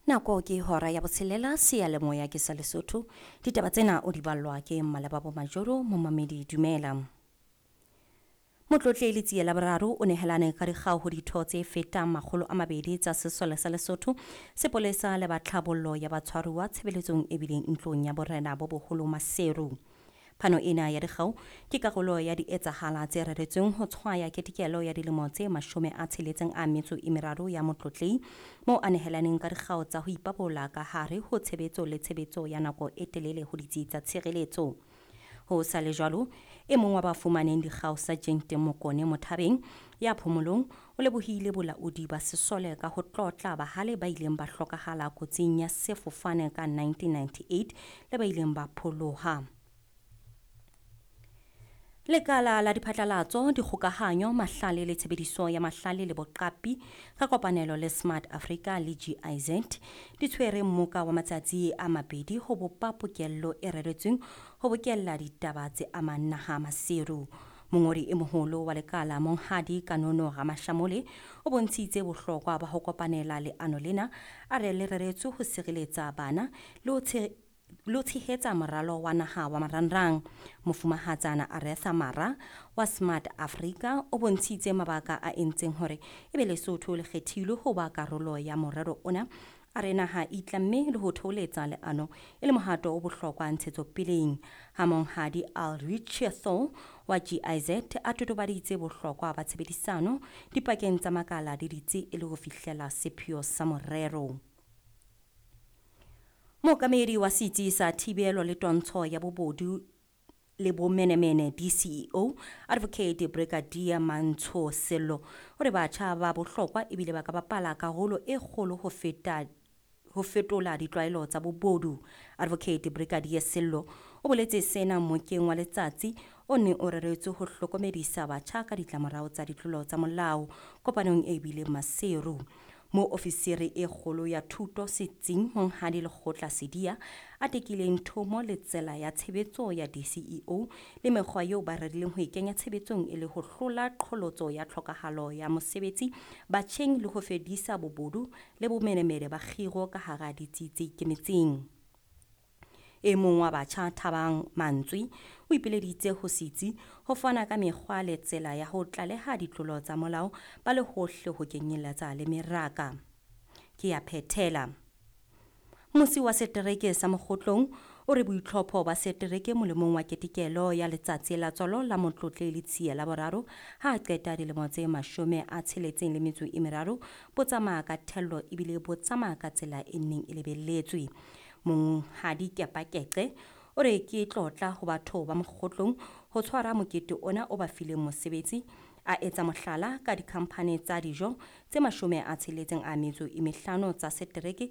Nako ke hora ya botshelela, seyalemoya ke sa Lesotho. Ditaba tsena o di ballwa ke Mmalebabo Majoro. Momamedi, dumela. Motlotlehi Letsie la Boraro o nehelane ka dikgau ho ditho tse fetang 200 tsa sesole sa Lesotho, sepolesa le ba tlhabollo ya batshwaruwa tshebeletsong e bileng ntlong ya borena bo boholo Maseru. Phano ena ya dikgau ke karolo ya dietsahala tse reretsweng ho tshwaya ketekelo ya dilemo tse 63 ya motlotlehi, moo a nehelaneng ka dikgau tsa ho ipabola ka hare ho tshebetso le tshebetso ya nako e telele ho ditsi tsa tshireletso. Ho sa le jwalo, e mong wa ba fumaneng dikgau, Sergeant Mokone Mothabeng ya phomolong, o lebohile bolaodi ba sesole ka ho tlotla bahale ba ileng ba hlokahala kotsing ya sefofane ka 1998 le ba ileng ba pholoha. Lekala la diphatlalatso, dikgokahanyo, mahlale le tshebediso ya mahlale le boqapi ka kopanelo le Smart Africa le GIZ di tshwere mmoka wa matsatsi a 2 ho bopa pokello e reretsweng ho bokella ditaba tse amang naha Maseru. Mongodi e moholo wa lekala, Monghadi Kanono Ramashamole, o bontshitse bohlokwa ba ho kopanela leano lena, a re le reretswe ho sireletsa bana le ho tshehetsa moralo wa naha wa marangrang. Mofumahatsana Aretha Mara wa Smart Africa o bontshitse mabaka a entseng hore ebe Lesotho le kgethilwe ho ba karolo ya morero ona. A re naha e itlamme le ho theoletsa leano e le mohato o bohlokwa ntshetsopeleng. Ha Monghadi Ulrich Thol wa GIZ a totobaditse bohlokwa ba tshebedisano dipakeng tsa makala le ditsi e le ho fihlela sepheo sa morero. Mookamedi wa setsi sa thibelo le twantsho ya bobodu le bomenemene, DCEO, Advocate Brigadier Mantsho Sello, o re batjha ba bohlokwa ebile ba ka bapala karolo e kgolo ho feta ho fetola ditlwaelo tsa bobodu. Advocate Brigadier Sello o boletse sena mmokeng wa letsatsi o neng o reretswe ho hlokomedisa batjha ka ditlamorao tsa ditlolo tsa molao kopanong e bileng Maseru, mo ofisiri e kgolo ya thuto setsing, Monghadi Lekgotla Sedia, a tekileng thomo le tsela ya tshebetso ya DCEO le mekgwa eo ba rerileng ho e kenya tshebetsong e le ho hlola qholotso ya tlhokahalo ya mosebetsi batjheng le ho fedisa bobodu le bomenemene ba kgiro ka hara ditsi tse ikemetseng. E mong wa batjha, Thabang Mantswe, o ipileditse ho setsi ho fana ka mekgwa le tsela ya ho tlaleha ditlolo tsa molao ba le hohle ho kenyeletsa le meraka. Ke ya phethela. Musi wa setereke sa Mokgotlong o re boitlhopho ba setereke molemong wa ketekelo ya letsatsi la tswalo la Motlotlehi Letsie la Boraro ha a qeta dilemo tse 63 bo tsamaya ka thello ebile bo tsamaya ka tsela e neng e lebelletswe. Monghadi Kepa Keqe o re ke tlotla ho batho ba Mokgotlong ho tshwara mokete ona o ba fileng mosebetsi, a etsa mohlala ka dikhamphane tsa dijo tse 65 tsa setereke.